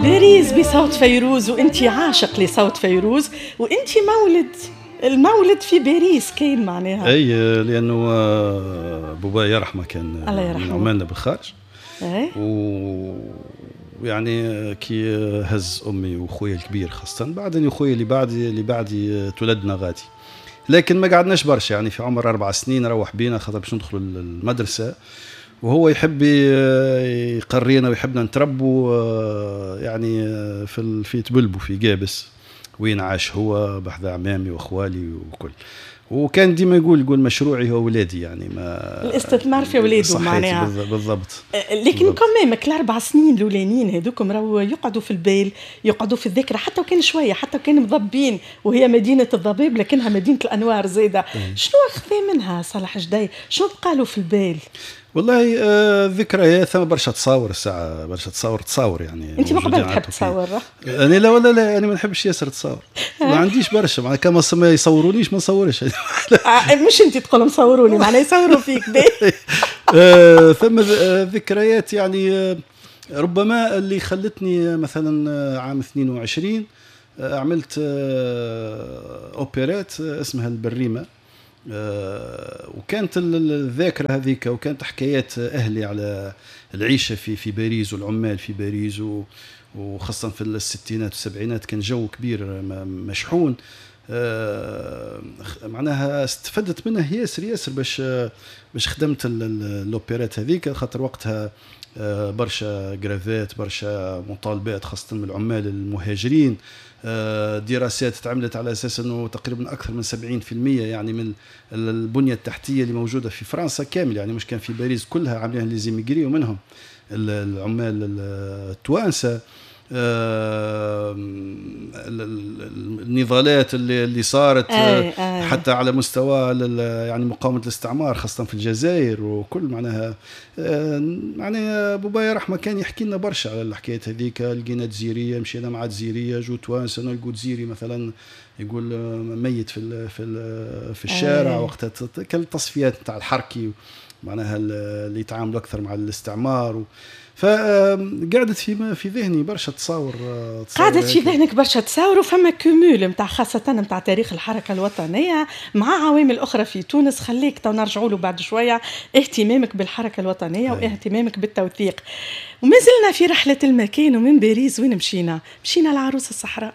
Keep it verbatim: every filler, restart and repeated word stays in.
باريس بصوت فيروز، وانت عاشق لصوت فيروز، وانت مولد المولد في باريس كاين معناها. اي، لانه بابا يرحمه كان الله يرحمه من عمالنا بالخارج. اي، ويعني كي هز امي وخويا الكبير خاصه، بعدني خويا اللي بعدي اللي بعدي تولدنا غادي، لكن ما قعدناش برشا، يعني في عمر اربع سنين روح بينا خاطر باش ندخلوا المدرسه، وهو يحب يقرينا ويحبنا نتربوا يعني في في تبلبو في قابس وين عاش هو بحذا عمامي واخوالي وكل. وكان ديما يقول يقول مشروعي هو ولادي، يعني ما الاستثمار في ولاده معناها. بالضبط. لكن quand même الاربع سنين الاولانيين هذوكم راهو يقعدوا في البال، يقعدوا في الذاكرة، حتى وكان شويه، حتى وكان مضبين، وهي مدينة الضباب لكنها مدينة الانوار زاده. شنو اخذ منها صالح جدي؟ شنو بقى له في البال؟ والله آه ذكريات، ثم برشا تصاور، الساعة برشا تصاور تصاور يعني. انت ما قبل تحب تصور؟ انا لا ولا لا، انا ما نحبش ياسر تصور، ما عنديش برشا معناها، كما ما يصورونيش ما نصورش. مش انت تقول لهم صوروني، معناها يصوروا فيك. آه ثم ذكريات يعني ربما اللي خلتني مثلا عام اثنين وعشرين عملت اوبرات اسمها البريمه، وكانت الذاكرة هذيك، وكانت حكايات اهلي على العيشة في في باريس والعمال في باريس، وخاصة في الستينات والسبعينات كان جو كبير مشحون، معناها استفدت منه ياسر ياسر باش باش خدمت l'opérette هذيك، خاطر وقتها برشا grève ات، برشا مطالبات خاصة من العمال المهاجرين، دراسات تعملت على اساس انه تقريبا اكثر من سبعين بالمئة يعني من البنية التحتية اللي موجودة في فرنسا كامل، يعني مش كان في باريس، كلها عاملينها les immigrés ومنهم العمال التوانسة. النضالات اللي اللي صارت أي أي. حتى على مستوى يعني مقاومة الاستعمار خاصة في الجزائر وكل، معناها معناها بابايا رحمه كان يحكي لنا برشا على الحكايات هذيك. لقينا جزيريه، مشينا مع جزيريه، جو توانسة نلقوا جزيري مثلا يقول ميت في في في الشارع وقتها، كالتصفيات نتاع الحركي معناها اللي يتعاملوا اكثر مع الاستعمار و فقعدت في في ذهني برشا تصاور. قعدت في ذهنك برشا تصاور، وفما cumul نتاع خاصة نتاع تاريخ الحركة الوطنية مع عوامل أخرى في تونس، خليك تو نرجعوا له بعد شوية، اهتمامك بالحركة الوطنية واهتمامك بالتوثيق. وما زلنا في رحلة المكان، ومن باريس وين مشينا؟ مشينا لعروس الصحراء.